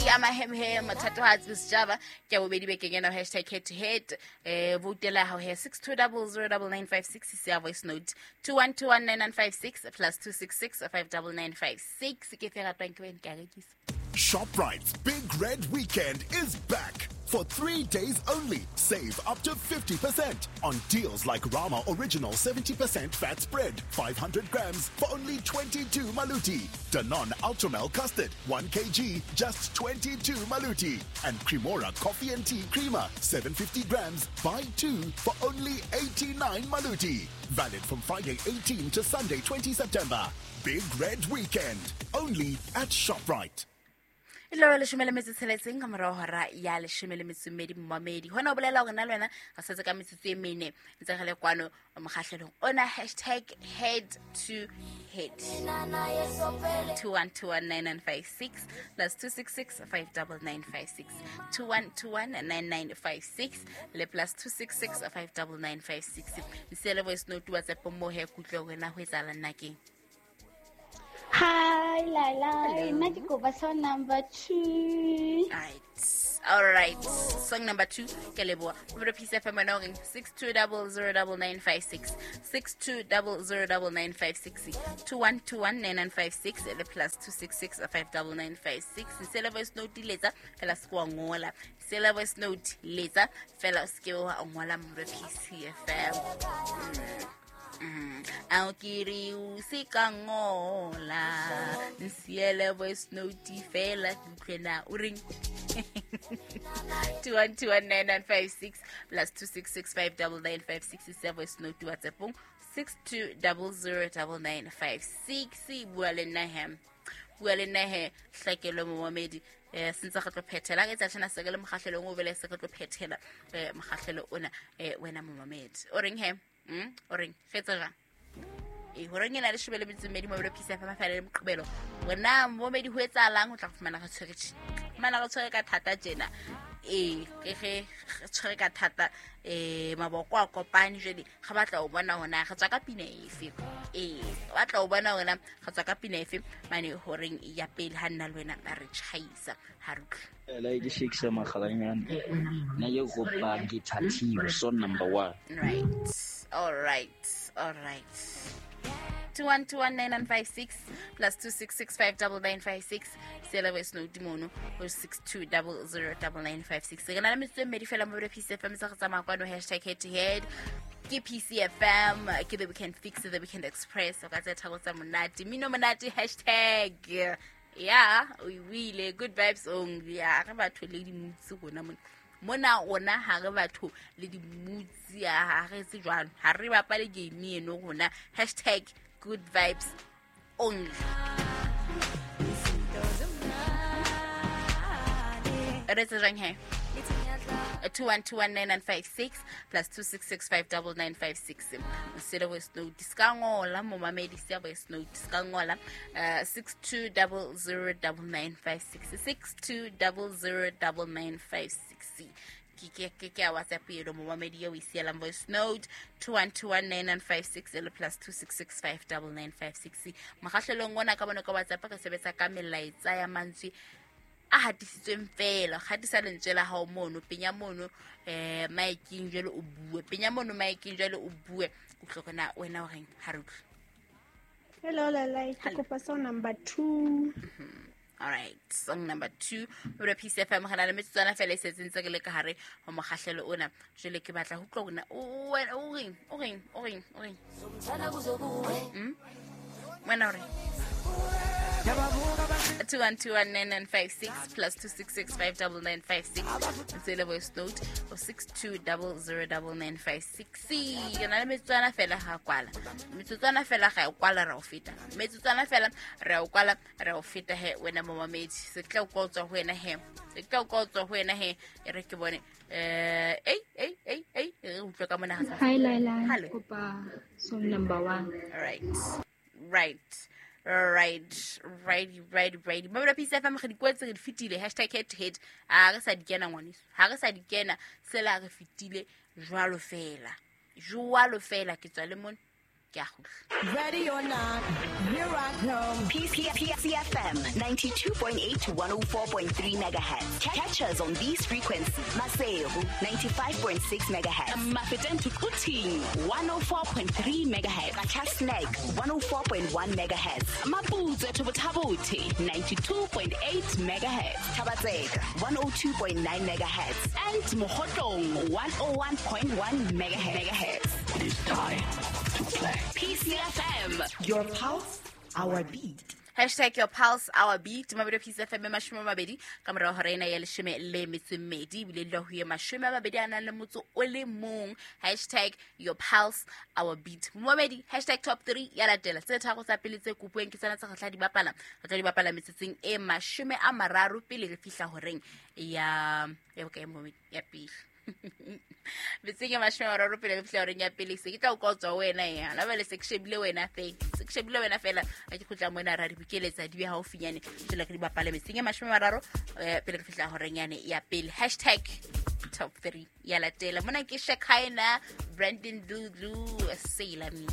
Amahemhem Thatohatsi Sejaba ke ya bobedi bekeng ena, hashtag head to head. Voutela ya hao he, 62009956, se ya voice note 21219956 plus 266 59956. Ke fe ratwang ke wena, ke a rekisa. ShopRite's Big Red Weekend is back. For 3 days only, save up to 50% on deals like Rama Original 70% fat spread, 500 grams for only 22 maluti. Danone Ultramel Custard, 1 kg, just 22 maluti. And Cremora Coffee and Tea Creamer, 750 grams, buy two for only 89 maluti. Valid from Friday 18 to Sunday 20 September. Big Red Weekend, only at ShopRite. E le 16 ka morago hora ya 12, momamedi. Hona o bolela hore na le wena re setse ka metsotso e 4 ntse re le kwano mokgahlelong ona, hashtag head to head, 21219956 plus 266 59956, 21219956 le plus 266 59956. Nsiele voice note, WhatsApp mo he, kutlwe hore na ho etsahala nna keng. Hi, Lala. Nna ke kopa song number 2. Right. All right. Song number 2. Ke leboha. Mobile Peace FM, wena o reng? 62009956. 62009956. 21219956 le plus 266 59956. Sele voice note, letsa fela, se wa ngola. Sele voice note, letsa fela, o se ke wa ngola, Mobile Peace FM. A ke re o se ka ngola, nsiele voice note fela, ke utlwe na o reng. 21219956 plus 266 se voice note, WhatsAppong 62009956. Bua le nna he, bua le nna he, hlakelwe momamedi. Sentse re tlo phethela ka etsa tjhana se ke le mokgahlelong o bele, se re tlo phethela mokgahlelo ona. Wena momamedi, o reng he? O reng fetsa jang? Ee, horeng ena 12 mobile Peace FM fela le Moqebelo, hore momedi ho etsahalang, o tla go fumana re tshwere tjhe, fumana re tshwere ka thata tjena. Ee, ke ge re tshwere ka thata, maboko a kopane. Jwale re batla ho bona hona re tswa ka pina efe. Ee, re batla ho bona hore re tswa ka pina efe mane horeng ya pele, ha nna le wena re tjhaisa ha re utlwe. Ela ke Shakespeare Makgalanyane. Nna ke kopa Ngithathiwe, song number 1. Right, all right, all right. 21219956 plus 266 sela voice note mono ho 62009956. Re na le metsotso e mmedi fela mo Peace FM, se re tsamaya kwano, hashtag head to head. Ke PCFM, ke The Weekend Fix, The Weekend Express. O ka tse thabo tsa monate, mino monate, hashtag ya o wile good vibes only. Ya re batho le dimutsi rona mona, mona rona ha re batho le dimutsi, ha re etse jwalo, ha re bapale game eno rona, hashtag good vibes only. Re etse jwang he? 21219956 plus 266 sele voice note, se ka ngola momamedi, se ya voice note, se ka ngola, 62009956, 62009956 ke ya WhatsApp eno, momamedi eo e sielang voice note, 21219956 le plus 266 mokgahlelong ona ka bona ka WhatsApp re sebetsa ka melaetsa ya mantswe a hatisitsweng fela. Gatisa lentswe la hao mono, penya mono maekeng jwale o bue, penya mono maekeng jwale o bue, utlwe kona wena o reng, ha re utlwe. Hello, Lala. Ke kopa song number 2. All right, song number 2, Mobile Peace FM. Re na le metsotswana fela e setseng tse re le ka hare ho mokgahlelo ona. Jwale ke batla ho utlwa hore wena o reng, o reng, o reng, o reng? Wena o reng? 21219956 plus 266 ntsele voice note o 62009956. Ke na le metsotswana fela, ga kwala metsotswana fela, ga e kwala ra o feta, metsotswana fela re o kwala re o feta he. Wena momamedi, se tla o kwa o tswa ho wena he, se tla o kwa o tswa ho wena he. E re ke bone, ei ei ei ei, re utlwe ka mona ga. Hi, Laila. Hello. Kopa song number 1. Right. Mabelo Peace FM, re di kwetse, re di fetile, hashtag head to head. A re sa di kena, ngwaneso, ha re sa di kena, sela re fetile jwalo fela, jwalo fela. Ke tswa le mona. Ke a kgutla. Ready or not, here I come. PCFM 92.8 to 104.3 megahertz. Catch us on these frequencies. Maseru 95.6 megahertz. Mafeteng to Quthing 104.3 megahertz. Qacha's Nek 104.1 megahertz. Maputswe to Botha-Bothe 92.8 megahertz. Thaba-Tseka 102.9 megahertz. And Mokhotlong 101.1 megahertz. It is time to play. PCFM. Your pulse, our beat. Hashtag your pulse, our beat. Mabedi Peace FM, 20 ka morao hora ena ya 12 ebile le ho ye 21. Hashtag your pulse, our beat. Momedi, hashtag top 3 ya latela. Tse tharo tsa pele tse kopuweng ke tsena tse re tla di bapala. Re tla di bapala metsotsong e 30 pele re fihla horeng ya bokae, momedi? Ya pele. Metseng e 30 pele re fihla horeng ya pele. Se ke tla o kotswa wena ya. La bale se ke shebile wena fe. Se ke shebile wena fela. Ha ke khutla mona ra di bokeletsa di be haufinyane. Jwale re di bapale metseng e 30 pele re fihla horeng yane ya pele. Hashtag top 3 ya latela. Mona ke Shekhinah, Brandon Dludlu, Sailor Me.